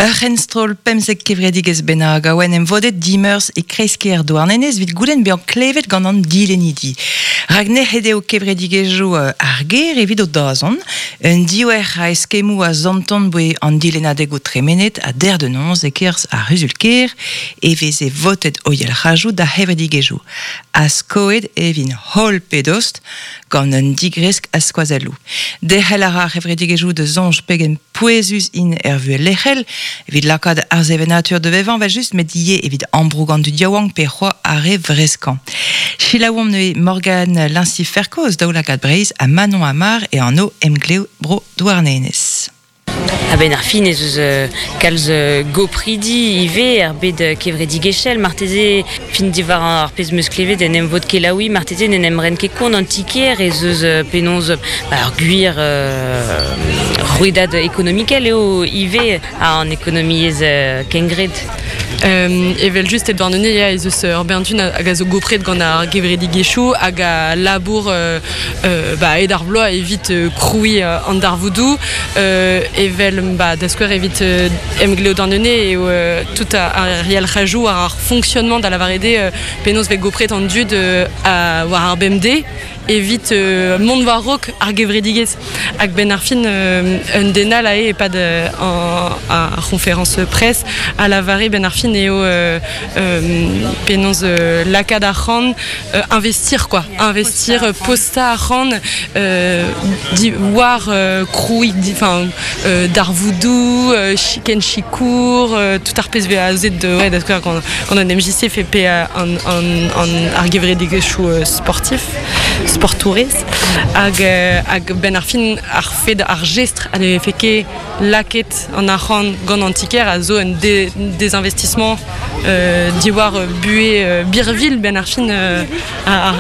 Ur c'henstroll pemzek kevredigezh bennak a oa en em vodet dimeurzh e kreiz-kêr Douarnenez evit goulenn bezañ klevet gant an dilennidi. Rak nec'het eo kevredigezhioù ar gêr evit o dazont. Un diouer a eskemmoù a santon boe an dilennadegoù tremenet ha der de noz e-kerzh ar c'huzul-kêr e veze votet o yalc'hajoù d'ar c'hevredigezhioù. Ha skoet e vint holl pe dost gant un digresk a skoazelloù. Derc'hel a ra ar c'hevredigezhioù da soñj pegen pouezus int er vuhez lec'hel evit lakaat ar sevenadur da vevañ evel-just met ivez evit ambroug an dud yaouank pe c'hoazh ar re vreskañ. Selaouomp neuze Morgane Lincy-Ferko eus Daoulagad Breizh ha Manon Amar e anv Emglev Bro Douarnenez. A-benn ar fin ez eus kalz gopridi ivez er bed kevredigezhel. Marteze, fin diwar ar pezh 'm eus klevet en emvod kelaouiñ, marteze n'en em ren ket kont an ti-kêr ez eus penaos ar gwir rouedad ekonomikel eo ivez an ekonomiezh kengred. Evel-just e Douarnenez ya ez eus ur bern tud hag a zo gopret gant ar gevredigezhioù hag a labour ba hed ar bloaz evit krouiñ an darvoudoù evel ba da skouer evit Emglev Douarnenez eo tout ar yalc'hajoù war ar fonctionnement da lavaret eo penaos vez gopret an dud war ar bemdez evit mont war-raok ar gevredigezh. Hag benn ar fin, un den all ae e-pad ar c'hoñferañs presse a lavare benn ar fin eo penaos lakaat arc'hant, investir quoi, investir, postañ arc'hant war krouiñ enfin darvoudoù, ken sikour, tout ar pezh 'vez azet ouais, da skouer gant an MJC fait pe an, an, an, ar gevredigezhioù sportif. Sportourez hag hag benn ar fin ar fed ar jestr a ne vefe ket lakaet an arc'hant gant an ti-kêr a zo un désinvestissement diwar buhez birvilh benn ar fin ar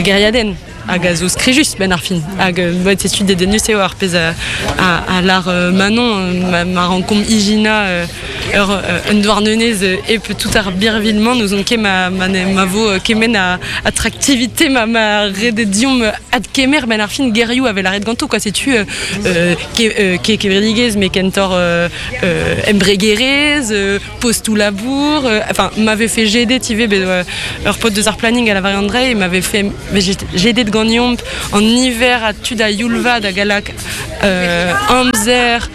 gêriadenn. Hag a zo skrijus benn ar fin. Hag euh, setu dedennus eo ar pezh a, a, a lar euh, Manon, ma, ma rankomp ijinañ euh, ur, un douarnenez hep tout ar birvilh-mañ, n'ouzon ket ma, ma, ma vo kement a attractivité ma, ma redet diomp adkemer benn ar fin gerioù a vez lâret ganto quoi. Setu euh, ke, euh, ke kevredigezh mais kentoc'h euh, embregerezh, postoù labour, enfin m'avait fait jedet ivez bet ur paotr deus ar planning a lavare Andrei m'avait fait jedet ganeomp an niver a tud a youl vat hag a lak amzer,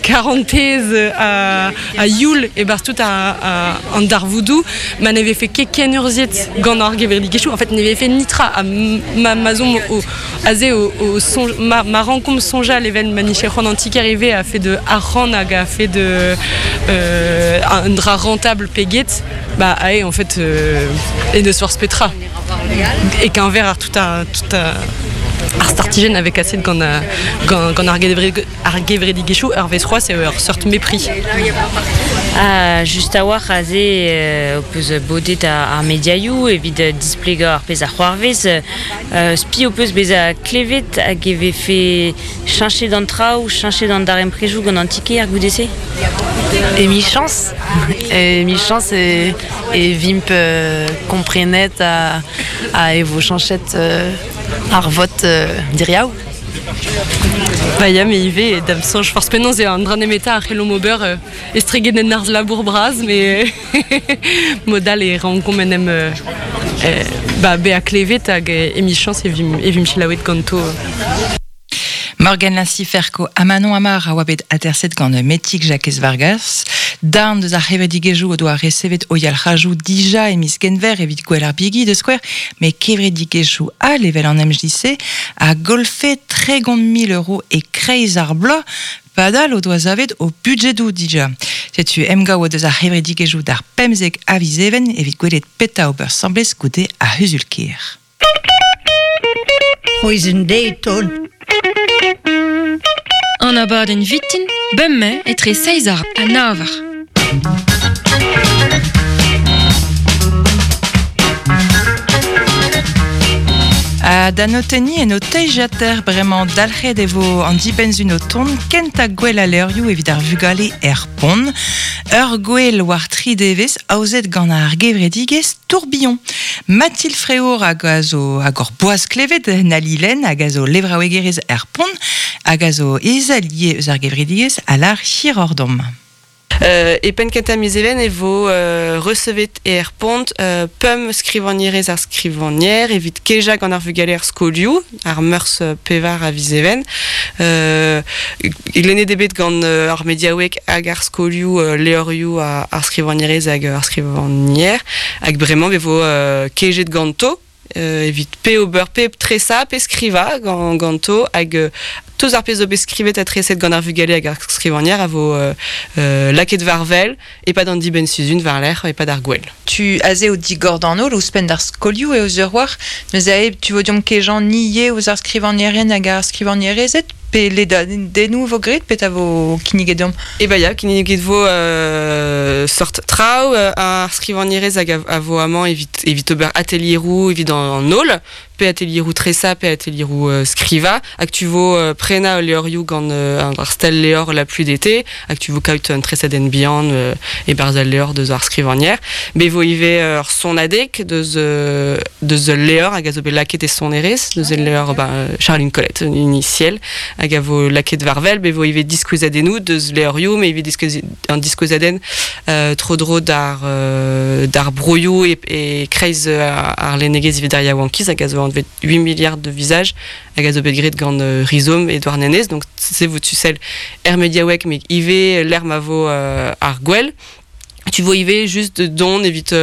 karantez ha youl e-barzh tout an darvoudoù ma ne vefe ket kenurzhiet gant ar gevredigezhioù en fait ne vefe nitra ha ma ma'z omp o aze o soñj ma, ma rankomp soñjal evel ma nije c'hoant an ti-kêr ivez a fait de arc'hant hag a fait de un dra rentable pe get bah ae en fait e n'eus forzh petra e-keñver ar tout ar tout ar startijenn a vez kaset gant gant gant ar ar gevredigezhioù ur wezh c'hoazh eo ur seurt mepri. Ha just a-walc'h aze ho peus bodet ar mediaioù evit displegañ ar pezh a c'hoarvez. Spi ho peus bezañ klevet hag e vefe cheñchet an traoù, cheñchet an darempredoù gant an ti-kêr goude-se? Emichañs, emichañs e, e vimp komprenet ha, ha e vo cheñchet ar vot diriaou. Ba ya, me ivez, da'm soñj forzh penaos eo an dra nemetañ a c'hellomp ober estreget en arz labour bras, met mod all e rankomp en em ba, bezañ klevet hag emichañs e vimp, e vimp selaouet ganto. Morgan Lincy-Ferko ha Manon Amar a oa bet aterset gant Metig Jakez Vargas. Darn deus ar c'hevredigezhioù o doa resevet o yalc'hajoù dija e miz Genver evit gwell ar bigi da skouer, met kevredigezhioù all evel an MJC a golfe 30 000 euros e-kreiz ar bloaz padal o doa savet o budjedoù dija. Setu emgav o deus ar c'hevredigezhioù d'ar 15 a viz Even evit gwelet petra ober 'sambles goude ar c'huzul-kêr. C'hwezh deiz taol. An abadenn vitin, bemdez etre seizh eur ha nav eur. Ha da notenniñ en ho teiziater bremañ dalc'het e vo an dibenn-sun o tont kentañ gwel al levrioù evit ar vugale er pont. Ur gwel war tri devezh aozet gant ar gevredigezh Tourbillon. Mathilde Fréour hag a zo hag hor boaz klevet Nali Lenn hag a zo levraouegerez er pont hag a zo ezel ivez eus ar gevredigezh a lar hirordom. E penn kentañ miz Even e vo resevet er pont pemp skrivagnerez ar skrivagner evit kejañ gant ar vugale er skolioù, ar meurzh pevar a viz Even. Lennet eo bet gant ar mediaoueg hag ar skolioù levrioù ar skrivagnerez hag ar skrivagner hag bremañ e vo kejet ganto evit pe ober pe tresañ pe skrivañ ganto hag tout ar pezh zo bet skrivet ha treset gant ar vugale hag ar skrivagner a vo lakaet war wel e-pad an dibenn-sizhun war-lerc'h e-pad ar gouel. Tu aze o digor d'an holl ouzhpenn d'ar skolioù eo sur war neuze ae tu vo deomp kejañ ni ivez ouzh ar skrivagnerien hag ar skrivagnerezed pe ledadennoù vo graet petra vo kinniget deomp? Eh ben ya, kinniget vo sort traoù ar skrivagnerez hag a vo amañ evit evit ober atelieroù evit an holl, pe atelieroù tresañ pe atelieroù skrivañ, hag tu vo prenañ ul levrioù gant ar stel levr La Pluie d'été, hag tu vo kaout un tresadenn bihan e-barzh al levr deus ar skrivagner. Bet vo ivez ur sonadeg deus deus ul levr hag a zo bet lakaet e sonerezh, deus ul levr ben, Charline Colette, initiel, hag a vo lakaet war-wel. Bet vo ivez diskouezadennoù deus levrioù, met ivez an diskouezadenn tro-dro d'ar d'ar broioù e, e kreiz ar lennegezh evit ar yaouankiz hag a zo anvet 8 milliards de visages hag a zo bet graet gant Rhizome e Douarnenez. Donc se vo tu sell er mediaoueg met ivez lec'h ma vo ar gwel. Tu vo ivez just dont evit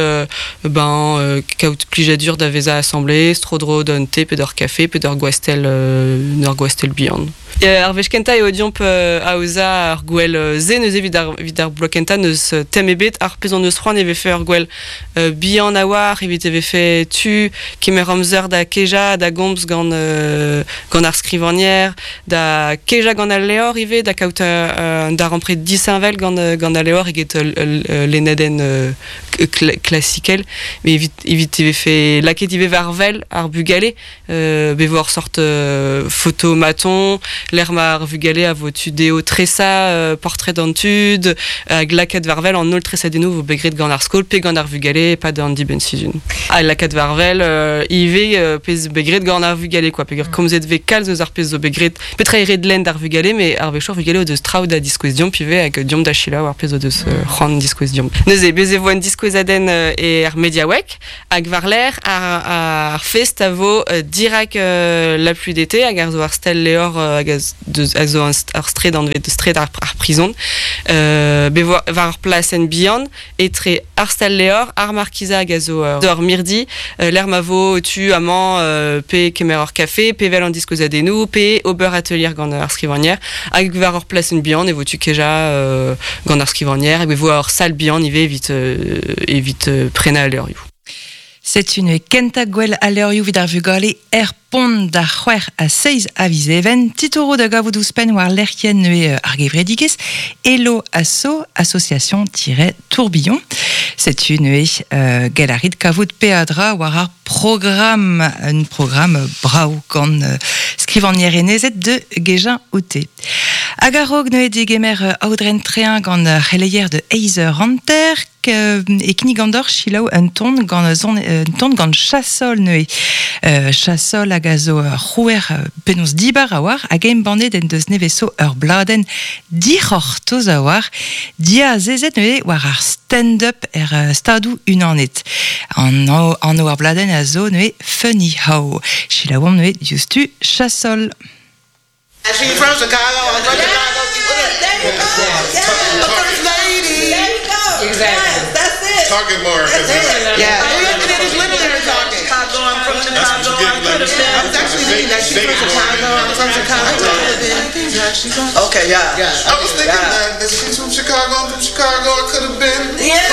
ben kaout plijadur da vezañ asambles, tro-dro d'un te pe d'ur kafe pe d'ur gwastell ur gwastell bihan. Ar wech kentañ eo deomp aozañ ur gouel se neuze evit ar evit ar bloaz kentañ n'eus tem ebet ar pezh hon eus c'hoant e vefe ur gouel bihan a-walc'h evit e vefe tu kemer amzer da kejañ da gomz gant gant ar skrivagner da kejañ gant al levr ivez da kaout un darempred disheñvel gant gant al levr eget lennadenn klasikel met evit evit e vefe lakaet ivez war wel ar bugale bet vo ur sort fotomaton lec'h ma ar vugale a vo tu dezho tresañ portred an tud hag lakaat war wel an holl tresadennoù vo bet graet gant ar skol pe gant ar vugale e-pad an dibenn-sizhun. Ha lakaat war wel ivez pezh bet graet gant ar vugale quoi peogwir komzet vez kalz eus ar pezh zo bet graet petra eo ret lenn d'ar vugale met ar wechoù ar vugale o deus traoù da diskouez deomp ivez hag deomp da selaou ar pezh o deus c'hoant diskouez deomp. Neuze bez e vo un diskouezadenn er mediaoueg Hag war-lerc'h ar fest a vo dirak La Pluie d'été hag ar zo ar stel levr hag a zo ar straed anvet straed ar prizon. Bet vo war ur plasenn bihan etre ar stal levr, ar markiza hag a zo ur mirdi lec'h ma vo tu amañ pe kemer ur kafe, pe vel an diskouezadennoù, pe ober atelier gant ar skrivagner. Hag war ur plasenn bihan e vo tu kejañ gant ar skrivagner hag e vo ur sal bihan ivez evit evit prenañ al levrioù. Setu neuze kentañ gwell al levrioù evit ar vugale er pont d'ar c'hwec'h ha seizh a viz Even. Titouroù da gavout ouzhpenn war lec'hienn neuze ar gevredigezh Hello Asso, association-tourbillon. Setu neuze gell a rit kavout peadra war ar programm, un programm brav gant skrivagnerenezed de gejañ oute. Hag a-raok neuze degemer Aodren Trein gant c'heleier de eizh eur hanter e kinnig an deoc'h selaou un ton gant son un ton gant Chassol neuze. Chassol hag a zo ur c'hrouer penaos dibar a-walc'h hag embannet en deus nevez zo ur bladenn dic'hortoz a-walc'h diazezet neuze war ar stand-up er Stadoù Unanet. An anv ar bladenn a zo neuze Funny How. Selaouomp neuze diouzhtu Chassol. She's from Chicago. I'm from Chicago. There you go. The first lady. There you go. Exactly. Yes, that's it. Talking more. That's it. Yeah. It, it is literally her talking. Chicago. I'm from That's Chicago. what you I get. could Like, have been. I was actually thinking that she's from Chicago. I'm from Chicago. I could have been. Okay, yeah. Yeah. I was thinking Yeah. that. That she's from Chicago. I'm from Chicago. I could have been. Yeah.